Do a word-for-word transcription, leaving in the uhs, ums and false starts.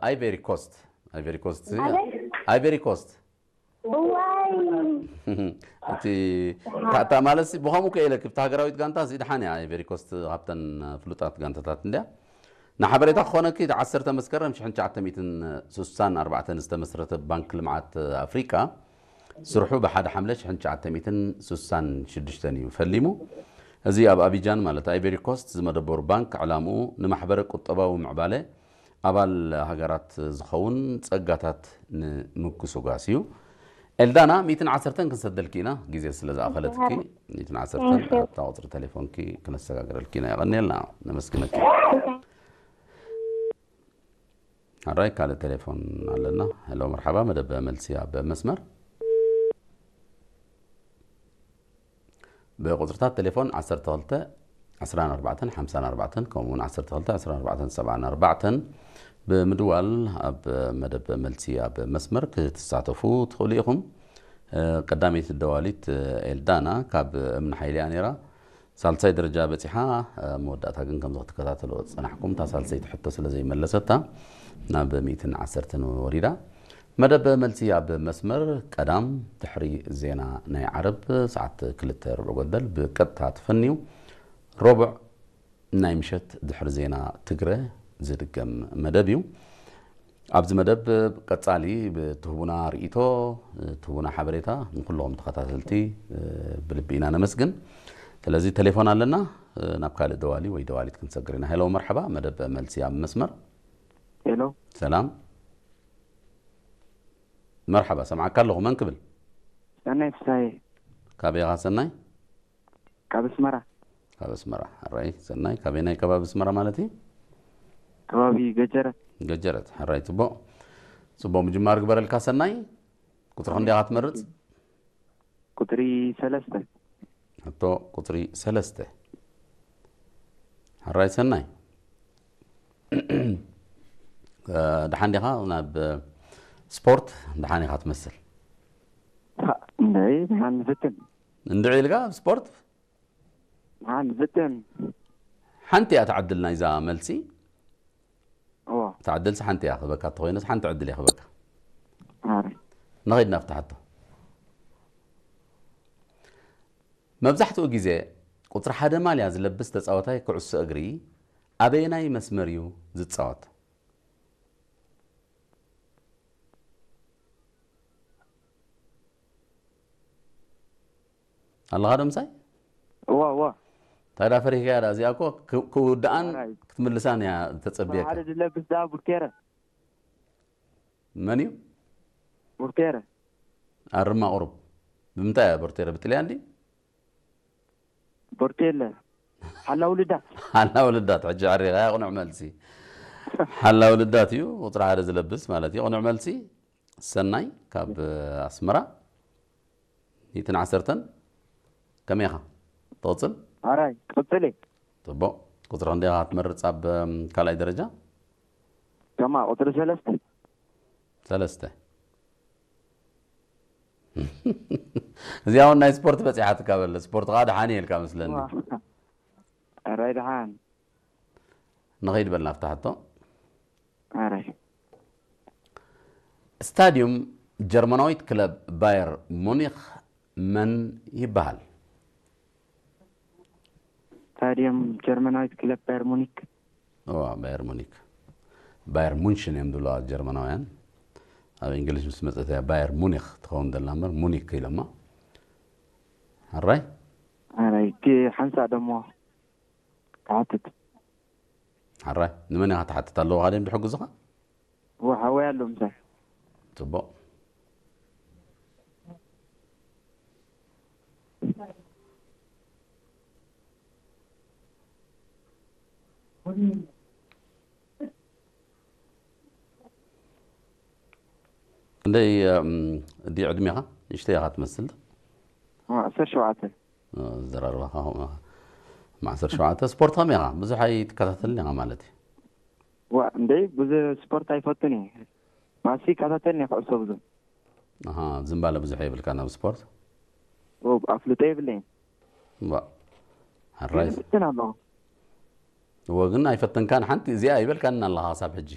ኣይቬሪ ኮስት፣ ኣይቬሪ ኮስት፣ ኣበይ? ኣይቬሪ ኮስት። ዋይ። እቲ ታ-፣ ታ-፣ ማለት ሲ፣ ብኸምኡ ከ ኢለክ፣ እብቲ ሃገራዊት ጋንታ ሲ ደሓን እያ፣ ኣይቬሪ ኮስት ካብተን ፍሉጣት ጋንታታት እንድያ። ንሓበሬታ ክኾነኪ፣ እቲ ዓሰርተ መስከረም ሽሕን ትሽዓተ ሚእትን ሱሳን ኣርባዕተን ዝተመስረተ ባንክ ልምዓት ኣፍሪቃ፣ ስርሑ ብሓደ ሓምለ ሽሕን ትሽዓተ ሚእትን ሱሳን ሽዱሽተን እዩ ፈሊሙ። እዚ ኣብ ኣቢጃን፣ ማለት ኣይቬሪ ኮስት፣ ዝመደበሩ ባንክ፣ ዕላምኡ ንማሕበረ ቁጠባዊ ምዕባለ ኣባል ሃገራት ዝኸውን ጸጋታት ንምጉስጓስ እዩ። ኤልዳና፣ ሚእትን ዓሰርተን ክንሰደልኪ ኢና፣ ግዜ ስለ ዝኣኸለትኪ፣ ሚእትን ዓሰርተን እሺ። ኣብታ ቁጽሪ ቴሌፎንኪ ክነሰጋግረልኪ ኢና። የቐንየልና፣ ነመስግነኪ። ሕራይ ካልእ ቴሌፎን ኣለና። ሄሎ፣ መርሓባ፣ መደብ መልሲ ኣብ መስመር። ብቁጽርታት ቴሌፎን ዓሰርተ ክልተ ዕስራን ኣርባዕተን ሓምሳን ኣርባዕተን፣ ከምኡውን ዓሰርተ ክልተ ዕስራን ኣርባዕተን ሰብዓን ኣርባዕተን ብምድዋል ኣብ መደብ መልሲ ኣብ መስመር ክትሳተፉ ትኽእሉ ኢኹም። ቀዳመይቲ ደዋሊት ኤልዳና ካብ እምኒ ሓይሊ እያ ነይራ። ሳልሳይ ደረጃ በጺሓ፣ መወዳእታ ግን ከምዚ ክትከታተሎ ጸናሕኩም፣ እታ ሳልሰይቲ ሕቶ ስለ ዘይመለሰታ ናብ ሚእትን ዓሰርተን ወሪዳ። መደብ መልሲ ኣብ መስመር ቀዳም ድሕሪ ዜና ናይ ዓረብ ሰዓት ክልተ ርብዕ ጎደል ብቀጥታ ትፈንዩ። ሮብዕ ናይ ምሸት ድሕሪ ዜና ትግረ ዝድገም መደብ እዩ። ኣብዚ መደብ ቀጻሊ ብትህቡና ርእይቶ፣ ትህቡና ሓበሬታ ንኩልኹም ተኸታተልቲ ብልቢ ኢና ነመስግን። ስለዚ ቴሌፎን ኣለና፣ ናብ ካልእ ደዋሊ ወይ ደዋሊት ክንሰግር ኢና። ሄሎ፣ መርሐባ፣ መደብ መልሲ ኣብ መስመር። ሄሎ። ሰላም። መርሐባ፣ ሰምዓካ ኣለኹ። መን ክብል? ሰናይ ፍስሃየ። ካበይ ኢኻ ሰናይ? ካብ ኣስመራ። ካብ ኣስመራ። ሕራይ ሰናይ፣ ካበይ ናይ ከባቢ ኣስመራ ማለት እዩ? ከባቢ ገጀረት። ገጀረት። ሕራይ ጽቡቕ። ጽቡቕ ምጅማር ግበረልካ ሰናይ። ቁጽሪ ክንደይ ኢኻ ትመርጽ? ቁጽሪ ሰለስተ። ሕቶ ቁጽሪ ሰለስተ። ሕራይ ሰናይ። እ፣ ደሓን ዲኻ? ናብ ስፖርት ደሓን ኢኻ ትመስል። ሃ፣ እንደይ፣ ደሓን ንፍትን። እንድዒ ኢልካ ኣብ ስፖርት? ደሓን ንፍትን። ሓንቲ እያ ትዓድል ናይዛ መልሲ። እዋ። ትዓድልሲ ሓንቲ እያ ክበካ፣ እንተኾይነስ ሓንቲ ዕድል እያ ክበካ። ኣረ። ንኸይድ ናብቲ ሕቶ። መብዛሕትኡ ግዜ ቁጽሪ ሓደ ማልያ ዝለብስ ተጻዋታይ ኩዕሶ እግሪ ኣበየናይ መስመር እዩ ዝጻወት? ኣለኻ ዶ ምሳይ? እዋ፣ እዋ። እንታይ ዳ ፈሪህካያ ዳ? እዚኣ እኮ ክ-፣ ክውድኣን ኣራይ። ክትምልሳን እያ ተጸብየካ። ሓደ ዝለብስ ዳ ቡርቴረ። መን እዩ? ቡርቴረ። ኣርማ ቁሩብ። ብምንታይ እያ ቡርቴረ? ብጥልያን ድዩ? ቦርቴለ። ሓላው ልዳት። ሓላው ልዳት። ሕጂ ዓሪኻ፣ ቅኑዕ መልሲ። ሓላው ልዳት እዩ፣ ቁጽሪ ሓደ ዝለብስ ማለት እዩ። ቅኑዕ መልሲ። ሰናይ፣ ካብ ኣስመራ። ሚእትን ዓሰርተን። ከመይ ኢኻ? ትቕጽል? ኣራይ፣ ቅጽል እየ። ጽቡቕ። ቁጽሪ ክንደይ ኢኻ ትመርጽ ኣብ ካልኣይ ደረጃ? ከማ፣ ቁጽሪ ሰለስተ። ሰለስተ። እዚኣ እውን ናይ ስፖርት በጺሓትካ በለ። ስፖርት ከኣ ደሓን እየ ኢልካ መስለኒ። ዋ። ኣራይ ደሓን። ንኸይድ በል ናብታ ሕቶ። ኣራይ። ስታድዩም ጀርመናዊት ክለብ ባየር ሙኒኽ መን ይበሃል? ስታድየም ጀርመናዊት ክለብ ባየር ሙኒክ። እዋ፣ ባየር ሙኒክ። ባየር ሙንሽን እዮም ዝብልዋ ጀርመናውያን። ኣብ እንግሊዝ ምስ መጸት እያ ባየር ሙኒክ ትኸውን ዘላ እምበር፣ ሙኒክ ኢሎማ። ሕራይ? ሕራይ፣ እቲ ሓንሳእ ደሞ ክሓትት። ሕራይ፣ ንመን ኢኻ ትሓትት ኣለዉ? ካደም ድሕግዙኻ? ወሓወይ ኣሎ ምሳይ። ጽቡቕ። ክንደይ፣ እም፣ እዲ ዕድሜኻ? ንእሽተይ ኢኻ ትመስል። ዓሰርተ ሸውዓተ። እ፣ ዘራርባኻ ከምኡ ኢኻ። ዓሰርተ ሸውዓተ። ስፖርት ከመይ ኢኻ? ብዙሕ ኣይትከታተልን ኢኻ ማለት እዩ። ዋ፣ እንዴ፣ ብዙሕ ስፖርት ኣይፈቱን እየ። ባሲ ይከታተልን እየ ኩዕሶ ብዙሕ። ኣሃ፣ ዝምባለ ብዙሕ የብልካን ኣብ ስፖርት? ኦ፣ ኣፍልጦ የብለይን። ዋ፣ ሕራይ። ግን እፍትን ኣለኹ። እወ፣ ግን ኣይፈተንካን፣ ሓንቲ እዚኣ ኣይበልካን ኣለኻ ክሳብ ሕጂ።